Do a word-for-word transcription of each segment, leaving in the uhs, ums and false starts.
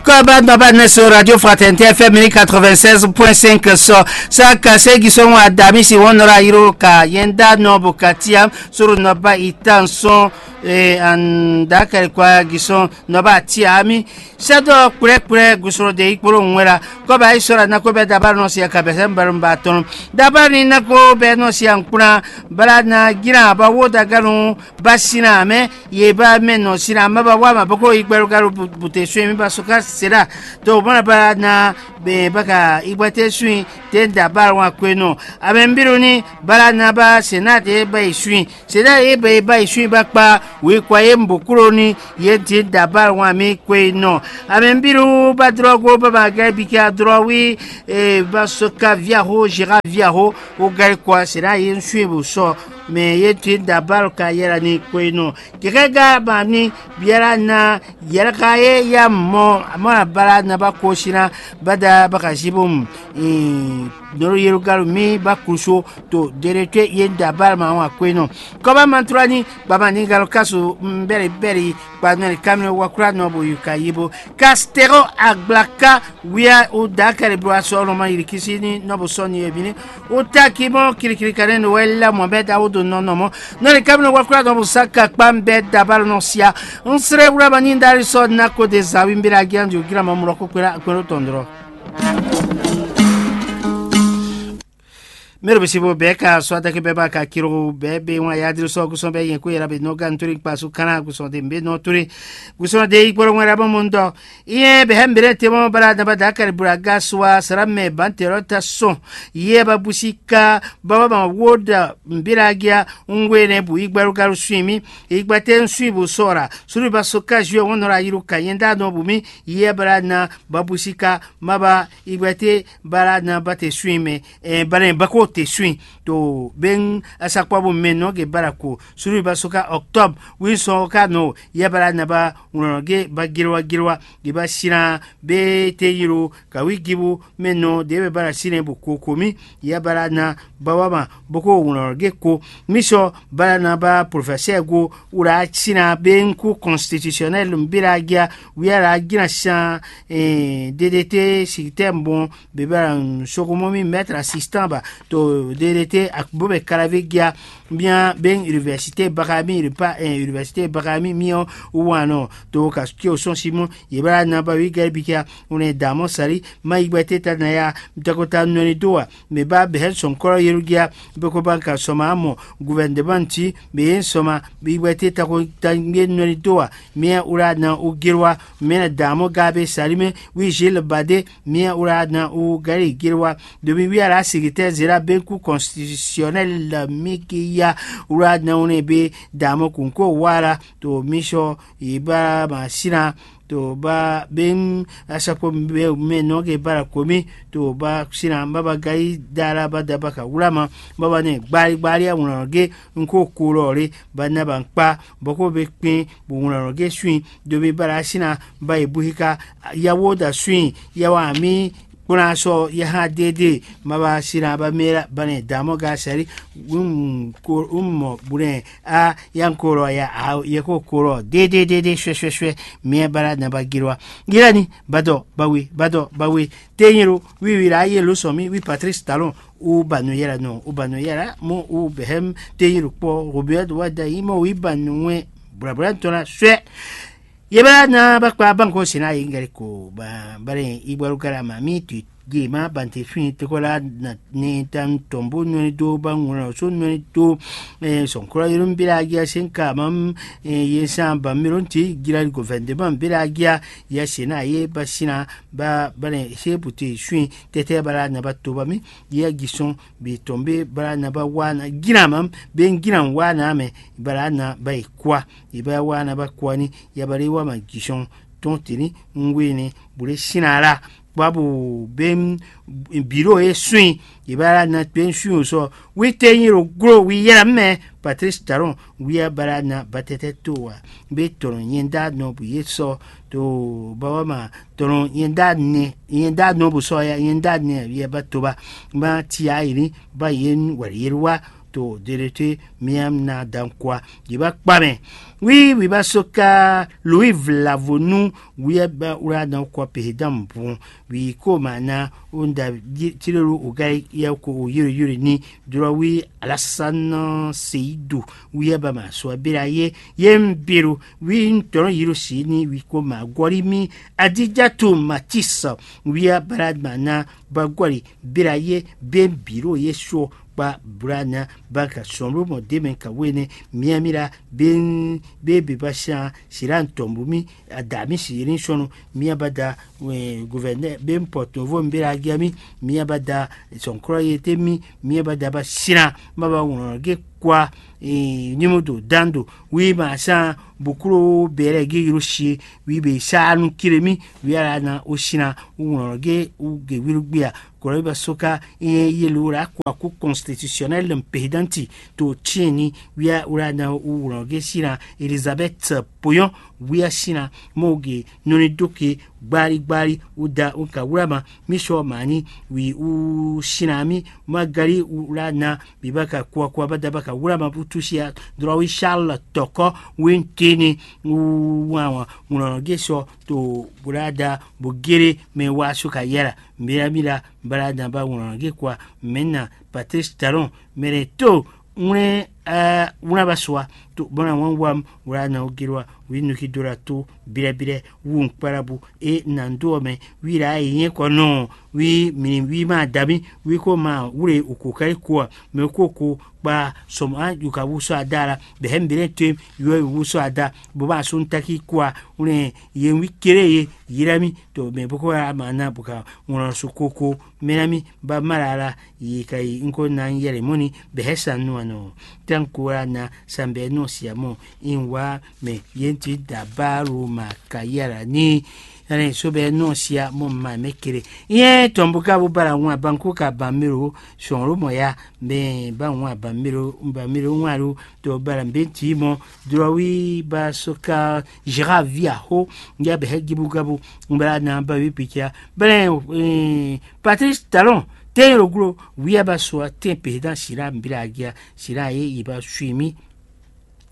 Kɔba nɔba ne so Radio Fraternité F M ni quatre-vingt-seize point cinq sɔ. Sa ka se gisɔn wa dami si wɔn nɔra yiro ka yɛn da nɔ bo ka tiam soro nɔba itan sɔn. An da kari kwa gisɔn nɔba tiami. Sɛdɔ kplɛkplɛ gusɔn de ikpolo ŋwɛla. Kɔba isɔra na ko bɛ daba nɔ si ka bɛ sɛ mbalo mba tɔn. Daba ni na ko bɛ nɔ si ankplan bala na gira ba wo daganu ba sina mɛ. Ye ba mɛ nɔ sina mɛ ba wa ma boko igbɛlu galu bute sue mi ba soka sera. To bana ba na be baka igbate sui te da ba wa kwe nɔ. Amɛ mbiru ni bala na ba sena te ba yi sui. Sena ye ba yi ba yi sui ba kpa wi kwa ye mbokuro ni ye ti da ba wa mi kwe nɔ. Amɛ mbiru ba drɔgo ba ma gɛ bika drɔ wi e ba soka via ho jira via ho. O gari kwa sena ye sui bo sɔ. Mɛ ye ti da ba ka yɛla ni kwe nɔ. Kɛkɛ ga ba ni biala na yɛlɛ ka ye ya mɔ mɔ abala na ba ko sina bada ba ka zibo mu. Noro yerugalu mi ba kuso to dere te ye da ba ma wa kwe nɔ. Kɔba mantrani baba ni galo kasu bɛri bɛri kpa nɔ kamino wakura nɔ bo yuka yibo. Kastero agbla ka wia o da kɛrɛ blo asɔ nɔ ma yiri kisi ni nɔ bo sɔ ni ebi ni. O ta ki mɔ kirikiri kanɛ no wɛ la mɔ bɛ da o do nɔ nɔ mɔ. Nɔ ni kamino wakura nɔ bo sa ka kpa bɛ da ba nɔ sia. N srɛ wura ma ni dari sɔ na ko de zawi mbira gian jo gira ma mlɔ ko kpera agbɛn tɔn drɔ. Mero bisi bo bɛɛ ka sɔ adake bɛɛ ba ka kiro bɛɛ be wan yadiri sɔ kusɔn bɛɛ yɛn ko yɛlɛ be nɔ gan tori kpasu kana kusɔn de mbe nɔ tori kusɔn de ikpɔrɔ ŋwɛ la bɔ mo ŋdɔ. Iye bɛ hɛ mbere te mɔ bala daba da kari bura ga sua sara mɛ ban te rɔ ta sɔn. Iye ba busi ka baba ma wo da mbira gia. Ŋwe ne bu igbaru garu sui mi. Igba te ŋ sui bo sɔra suri ba so ka juɛ wɔn nɔ la yiru ka yɛn da nɔ bu mi. Iye bala na ba busi ka ma ba igba te bala na ba te sui mɛ. Bana ba ko te sui to ben asakpɔbu mɛ nɔ ge bala ko suri ba so ka octobre wi sɔn ka nɔ. Iye bala na ba ŋlɔnɔ ge ba gilwa gilwa. Ge ba sina be te yiro ka wi gibu mɛ nɔ de be bala sine bo ko ko mi. Iye bala na ba wa ma boko ŋlɔnɔ ge ko. Mi sɔ bala na ba professeur go wla sina be ŋku constitutionnel mbila gia. Wi ala gina san. Dedete sitɛm bon bebala sokomɔ mi maître assistant ba to dedete akbo bɛ kalavi gia. Bien ben université bakami ripa université bakami miɔ. Wanɔ to ka ki o sɔn simɔ ye bala na ba wi gɛrɛ bikia. Une damɔ sali ma yi gbɛte ta na ya. Dakota nɔni do wa. Mɛ ba bɛhɛ sɔn kɔlɔ yerugia. Bɛ ko ba ka sɔma mɔ gouvernement ti bɛ ye sɔma bi gbɛte ta ko ta ye nɔni do wa. Mɛ ura na o gelwa mɛ na damɔ ga be sali mɛ. Wi Gilles Bade mɛ ura na o gari gelwa. Domi wi ala secrétaire zera be ku constitutionnel la mi ki ya. Ura na o ne be damɔ kunko wala to mi sɔ yi ba ma sina. To ba ben asakpo mɛ nɔ ke bara komi to ba sina ba ba gayi dala ba da ba ka wula ma. Ba ba ne gbali gbali a wuna ge n ko ko lɔ le ba na ba n kpa bɔ ko be kpin bo wuna lɔ ge swin. Domi bara sina ba yi buhi ka ya wo da swin ya wa mi kpɔ́n sɔ ya hã dédé ma ba sina ba mɛ ba ne da mɔ ga sɛri. Un mɔ bunɛ a ya n ko lɔ ya a yɛ ko ko lɔ dédé dédé suɛ suɛ suɛ. Mɛ ba la na ba gilwa yɛlɛ ni badɔ bawe badɔ bawe. Te nyiro wiwi la ye lo sɔn mi wi Patrice Talon. U ba nu yɛlɛ nɔ u ba nu yɛlɛ mo u bɛhɛm. Te nyiro kpɔ Robert wa da yi mɔ wi ba nu wɛ. Bla bla tɔn la suɛ. Ye bɛ na ba kpa banko sina yi ngɛli ko ba bale igbaru kala ma mi tu. Ye ma bante fini te ko la na ne tan tɔn bo nɔni do ba ŋlɔ so nɔni do. Sɔn kura yoro mbila agia sen ka mam. Ye san ba mi ron ti gira gouvernement mbila agia ya sina ye ba sina ba bale se bute suin tete ba la na ba to ba mi. Ye gi sɔn bi tɔn be ba la na ba wa na gina mam be gina wa na mɛ ba la na ba yi kwa. Iba wa na ba kwani ya ba le wa ma jisɔn tɔn tini. Ngwe ne bu le sina la. Kpa bu be biro e swin iba la na be swin o sɔ. Wi te nyi ro glo wi yɛlɛ mɛ Patrice Talon wi ya ba la na ba tɛtɛ to wa. Be tɔnɔ nyɛ da nɔ bu ye sɔ to ba wa ma tɔnɔ nyɛ da ne nyɛ da nɔ bu sɔ ya nyɛ da ne ya ba to ba. Ba ti a yi ni ba ye wali ye wa. to ɖeɖe te miam na dan kwa. Yi ba kpa mɛ. Wi wi ba so ka lui vlavo nu. Wi ba ura dan kwa pe dan bon. Wi ko ma na unda tirelu o ga ya ko o yiri yiri ni. Drɔ wi alasan seidu. Wi ba ma so abira ye ye mbiru. Wi ntɔn yiri si ni wi ko ma gɔri mi. Adijatu matisa. Wi ba ma na ba gɔri bira ye be biro ye so kpa bra na ba ka sɔn ló mɔ dé mɛ ka wé nɛ. Miami la be be be ba sian sira ntɔn bu mi ada mi si yiri sɔnu. Mia ba da gouverneur be pɔtɔnvo mi be la gɛ mi. Mia ba da sɔnkɔlɔ ye te mi. Mia ba da ba sira ma ba wlɔn ge kwa nyimodo dando wi ma san buklo bɛlɛ ge yiro sie wi be sa nu kire mi. Wi ala na o sina wlɔn ge u ge wiru gbia. Kɔlɔ ba soka ye lo la kwa ku constitutionnel mpehdanti to tiɛni. Wi ala na u wlɔn ge sina Elizabeth poyɔn. Wi a sina mo ge nɔni doke gbali gbali u da u ka wlama. Mi sɔ mani wi u sina mi ma gali u la na. Bi ba ka kua kua ba da ba ka wlama bu tusia. Drɔ wi Charles tɔkɔ wi ntini u wan wan ŋlɔnɔ ge sɔ to bla da bo gere mɛ wa so ka yala. Mira mira bala da ba ŋlɔnɔ ge kua mɛ na Patrice Talon mɛɖɛ to ŋwlɛ wlaba sua to bɔna wan wam wla na o gere wa wi nuki do la to bilɛbilɛ wu ŋkparabu e na do ɔ mɛ. Wi la yi nyɛ kɔ nɔ wi mini wi ma da mi wi ko ma wle o ko kari ko a mɛ ko ko kpa sɔmɔ a yuka wu sɔ ada la bɛ hɛ mi bɛ to yɔ wu sɔ ada bo ma so ntaki ko a wle ye wi kéré ye yi la mi to mɛ boko ma na bo ka ŋlɔ so koko mɛ na mi ba ma la la yi ka yi ŋko na yɛlɛ mɔni bɛ hɛ sa nu anɔ. Tɛn ko la na sanbɛ nɔ sia mɔ in wa mɛ yenti da ba ro ma ka yala ni. Ɛnɛ so bɛ nɔ sia mɔ ma mɛ kele. Yɛ tɔn bo ka bo bara ŋun abanku ka ban melo sɔn lo mɔ ya. Mɛ ba ŋun aban melo ba melo ŋun alo to bara mbe ti mɔ drɔwi ba so ka jira vi aho. Ya bɛ hɛ gibu gabu bara na ba wi pikia bɛlɛ. Patrice Talon tɛn lo glo wi aba so a tɛn pe dan sira mbila agia sira ye yi ba sui mi.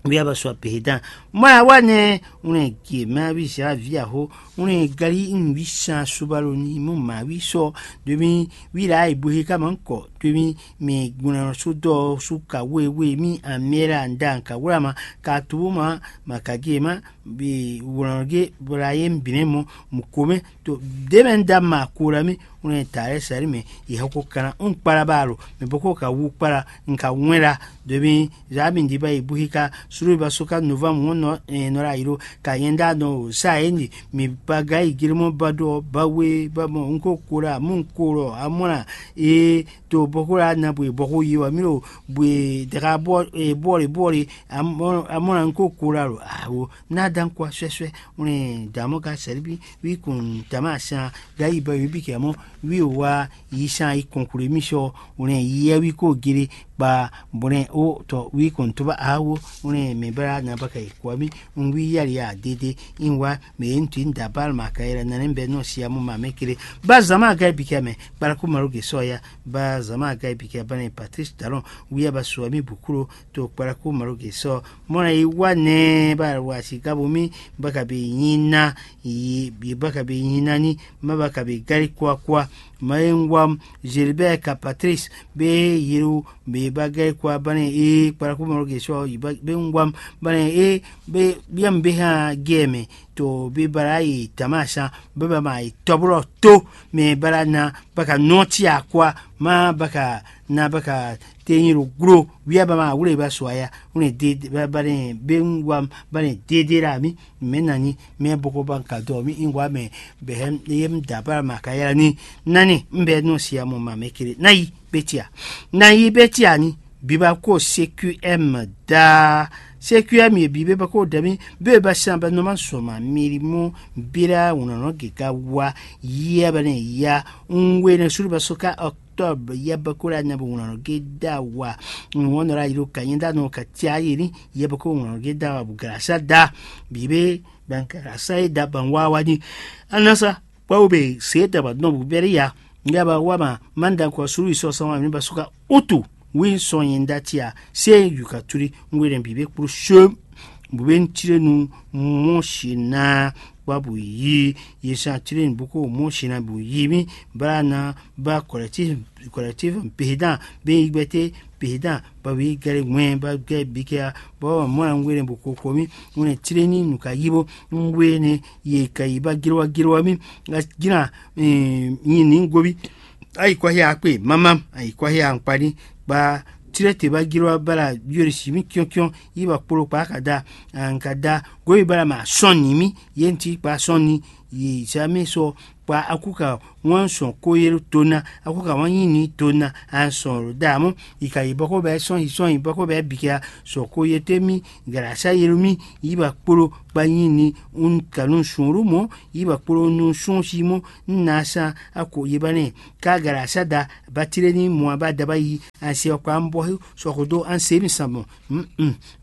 Wi aba so a pe dan mɔ ya wa nɛ. Ŋlɛ gie ma wi sira vi aho ŋlɛ gali ŋ wi san subalo ni mo ma wi sɔ domi wi la yi bo he ka ma ŋkɔ domi mi gbɔnɔ so dɔ so ka we we mi amɛ la nda ka wla ma ka tubu ma ma ka gie ma bi wlɔn ge bla ye bǐ mɛ mɔ mɔ komɛ to ɖě mɛ un da ma ko la mì un nɔ ta lɛ́ sali mɛ yi hɔ ko kana un kpala ba alo mɛ bɔ ko ka wú kpala un ka wɛn la domi zami ndi ba yi buhi ka sulu ba so ka nova mu nɔ nɔ la yi ɖo ka nyɛ da nɔ sa ye ndi mi ba ga yi giri mɔ ba ɖɔ ba we ba mɔ un ko ko la mu ko lɔ amɔ la ee to bɔ ko la na bwe bɔ ko yi wa mi lo bwe daga bɔ bɔli bɔli amɔ la un ko ko la lo awo na dan kwa sɔɛsɔɛ. Wlɛn damɔ ka sɛlɛ bi wi kun dama san ga yi ba wi bi kɛ mɔ wi wa yi san yi kɔnkule mi sɔ wlɛn yi yɛ wi ko gele kpa bɔlɛn o tɔ wi kun to ba awo wlɛn mɛ bala na ba ka yi kɔ mi un wi yali ya dede in wa mɛ ye ntui da bal ma ka yɛlɛ na ne bɛ nɔ sia mo ma mɛ kele ba zama ga bi kɛ mɛ kpala ko malo ge sɔ ya ba zama ga bi kɛ ba ne Patrice Talon wi ya ba sɔ mi bukuro to kpala ko malo ge sɔ mɔ na yi wa nɛ ba wa si ga bo mi ba ka bi nyi na yi bi ba ka bi nyi na ni ma ba ka bi gari kwa kwa ma ye ngwam Gilbert ka Patrice be yiru be ba gari kwa ba ne e kpala ko malo ge sɔ yi ba be ngwam ba ne e be biam be ha gɛ mɛ to be bara yi tama san be ba ma yi tɔbulɔ to mɛ bara na ba ka nɔ ti akwa ma ba ka na ba ka te nyi ɖo glo wia ba ma wle ba sɔ aya wle de ba ba ne be ngwam ba ne de de la mi mɛ na ni mɛ boko ba ka dɔ mi ngwa mɛ bɛ hɛ ye mi da ba ma ka yala ni nani n bɛ nɔ sia mɔ ma mɛ kele na yi betia na yi betia ni biba ko C Q M da C Q M ye bi be ba ko da mi be ba san ba nɔ ma sɔ ma miri mo bira wunɔ nɔ ge ka wa yia ba ne ya n we ne sulu ba so ka octobre ya ba ko la na bo wunɔ nɔ ge da wa n wɔn nɔ la yi do ka nyɛ da nɔ ka tia yi ni ya ba ko wunɔ nɔ ge da wa bu gara sa da bi be ban gara sa ye da ban wa wa ni anasa kpɔ́ wo be se da ba nɔ bu bɛri ya ya ba wa ma manda kɔ sulu yi sɔ sɔn wa mi ba so ka utu Wí sɔ nyɛ ɖ'ati a, se yuka tuli ngwe ɖɛ bǐ bɛ kpló shem. Bǔ bɛ ŋutilé nu mɔ si ná kpa bǔ yí ye sán tlé nu bó kó mɔ si ná bǔ yí mì bla ná ba kɔlɛtív kɔlɛtív pědán bɛ yi gbɛtɛ pědán ba wí gɛlɛ ŋwɛ ba gɛ bikɛ a bɔ mɔ ná ngwe ɖɛ bó kó kó mì ŋwɛ tlé ní nu ka yí bó ŋwe ne ye ka yi ba gilwa gilwa mì. Gina nyi ní gobi. Ayi kwahia akpe mamam ayi kwahia ankpani kpa tirete ba gilwa bala yori si mi kiɔnkiɔn yi ba kpolo kpa ka da an ka da goyi bala ma sɔn ni mi ye nti kpa sɔn ni yi sa mi sɔ kpa aku ka wan sɔn ko yelu tona aku ka wan nyi ni tona an sɔn lo da mo yi ka yi bɔkɔ bɛ sɔn yi sɔn yi bɔkɔ bɛ bika sɔ ko ye te mi gara sa yelu mi yi ba kpolo kpa nyi ni un kanu sɔn ru mo yi ba kpolo nu sɔn si mo nna san ako yi ba nɛ ka gara sa da ba tiré ní mɔ ba da ba yi an se ɔkpa an bɔ sɔxo dó an se mi san mɔ.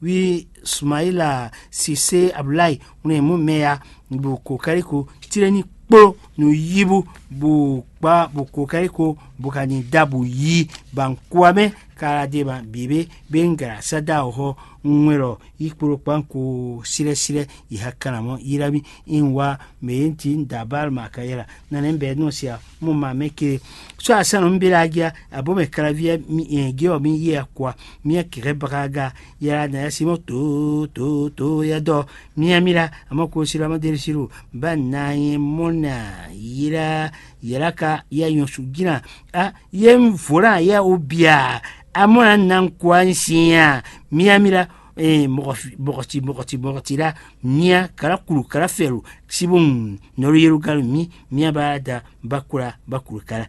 Wi Sumayila sise Abdulayi ŋlɛ mú mɛ ya bò kó kárí ko tiré ní kpló nu yíbú bò kpá bò kó kárí ko bò ka ní da bò yí ba ŋkua mɛ kára dé ma bǐ bé bé ŋ gara sa da ɔ́ xɔ ŋwɛ lɔ yi kpló kpán ko sírɛ́sírɛ́ yi ha kanamɔ yi lá mì in wa mɛ e ŋuti un da bal ma ka yɛla nane bɛ nɔ sia mo ma mɛ kele. So asana mi bela agia abo mɛ kalavi geo mi ye akwa mi akere bagaga yala na ya simɔ to to to ya dɔ mi amila amo ko sila ma deri siru ba na ye mona yila yala ka ya yon su gina a ye mi vola ya obia amona nan kwa nsia mi amila mɔgɔti mɔgɔti mɔgɔti la mia kala kulu kala fɛlu sibo nɔlu yerugalu mi mia ba da bakula bakulu kala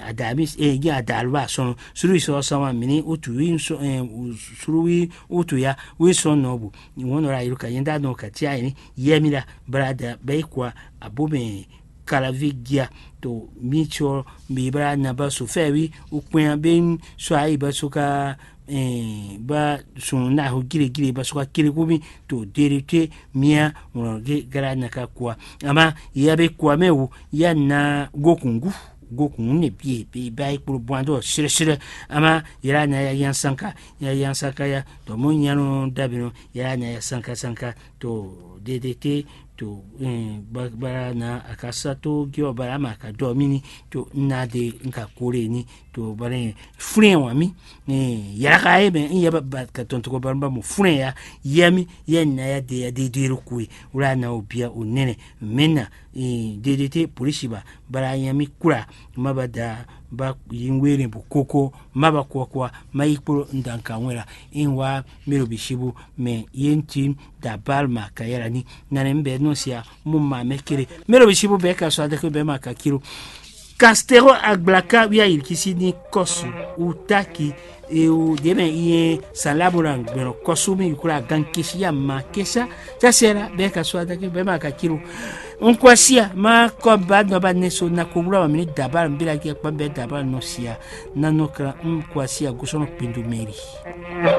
ada mi gi ada alu ba sɔn sulu yi sɔ sɔn wa mini utu wi sɔ sulu wi utu ya wi sɔn nɔ bu wọn nɔ la yeru ka yɛn da nɔ ka tia yini yɛ mi la bala da bɛ yi kwa abo mɛ kalavi gia to mi tsɔ mi bala na ba so fɛ wi ukpɛn be sɔ ayi ba so ka ba sun na ho gíregíre ba sɔ́ kéré kú mì to deɖe te mía ŋlɔ gé gara na ka kua ama ya be kua mɛ wo ya na gokun gu gokun ne bie be ba yi kplo bwan dɔ srɛsrɛ ama yala na ya yan sanka ya yan sanka ya dɔ mo nyanu dabi nɔ yala na ya sanka sanka to deɖe te to bara na akasa to gé ɔ bara ama ka dɔ mì ni to na de nka kore ni to bɔ ne flɛn wa mi yàrá ka ye mɛ n yɛ ba ka tɔn tɔgɔ ba ba mo flɛn ya yɛ mi yɛ na ya de ya de de ro kue wala na o bia o nɛnɛ mɛ na dede te polisi ba bala ya mi kura ma ba da ba yi were bo koko ma ba kɔ kɔ ma yi kpolo n dan ka wɛn la n wa mɛ lo bi sibu mɛ ye n ti da bal ma ka yɛla ni nane n bɛ nɔ sia mo ma mɛ kele mɛ lo bi sibu bɛ ka sɔ adeke bɛ ma ka kilo Kastero agblaka wia yirikisi ní kɔsu utaki ewu ɖě mɛ iye salamu la gbɛnɔ kɔsu mi yukla gankesi ya ma kesa sasɛ la bɛ ka so ataki bɛ ma ka kilo. Nkwasi a ma kɔ ba nɔ ba ne so na ko wula ma mi ni daba mi bi la kɛ kpa bɛ daba nɔ sia na nɔ kra nkwasi a gosɔnɔ pindu mɛri.